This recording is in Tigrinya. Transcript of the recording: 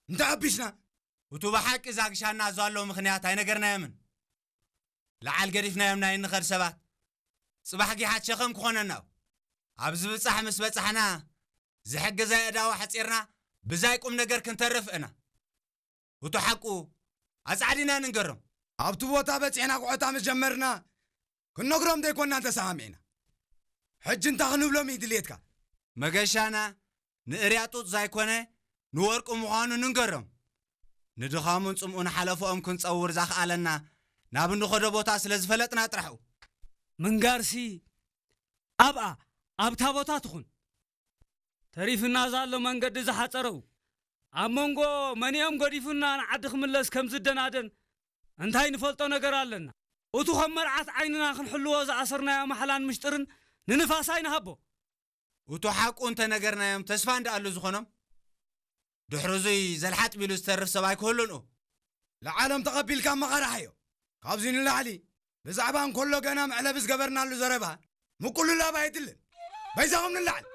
እንተኣቢስና። እቱ ብሓቂ ዛግሻና ዘሎ ምኽንያት ኣይነገርናዮምን። ለዓል ገዲፍናዮም ናይ እንኸድ ሰባት ጽባሕ ጊሓት ሸኸም ክኾነና እዩ። ኣብ ዝብጻሕ ምስ በጻሕና ዝሕግዝ ኣእዳው ሓጺርና ብዛይ ቁም ነገር ክንተርፍ እና። እቱ ሓቁ ኣጻዕዲና ንንገሮም። ኣብቲ ቦታ በጺሕና ኩዕታ ምስ ጀመርና ክንነግሮም ዘይኮንና እንተሰማሚዕና። ሕጂ እንታይ ክንብሎም እዩ ድልየትካ? መገሻና ንእርያ ጡጥ ዘይኮነ ንወርቂ ምዃኑ ንንገሮም። ንድኻሙን ጽምኡን ሓለፍኦም ክንጸውር ዛኽኣለና ናብ እንኸዶ ቦታ ስለ ዝፈለጥና ጥራሕ እዩ። ምንጋርሲ ኣብኣ ኣብታ ቦታ ትኹን። ተሪፍና ዛሎ መንገዲ ዝሓጸረው ኣብ መንጎ መንኦም ገዲፉና ንዓዲ ክምለስ ከም ዝደናደን እንታይ ንፈልጦ ነገር ኣለና? እቱ ከም መርዓት ዓይንና ክንሕልዎ ዝኣሰርናዮ ማሕላን ምሽጥርን ንንፋስ ኣይንሃቦ። እቱ ሓቁ እንተነገርናዮም ተስፋ እንዳኣሉ ዝኾኖም ድሕሪ እዙይ ዘልሓጥ ቢሉ ዝተርፍ ሰብ ኣይክህሉን እዩ። ለዓሎም ተቐቢልካ መቐራሕዮ። ካብዚ ንላዕሊ ብዛዕባ እንከሎ ገና መዕለቢ ዝገበርናሉ ዘረባ ምቁልላብ ኣይድልን። በይዛኹም ንላዕል።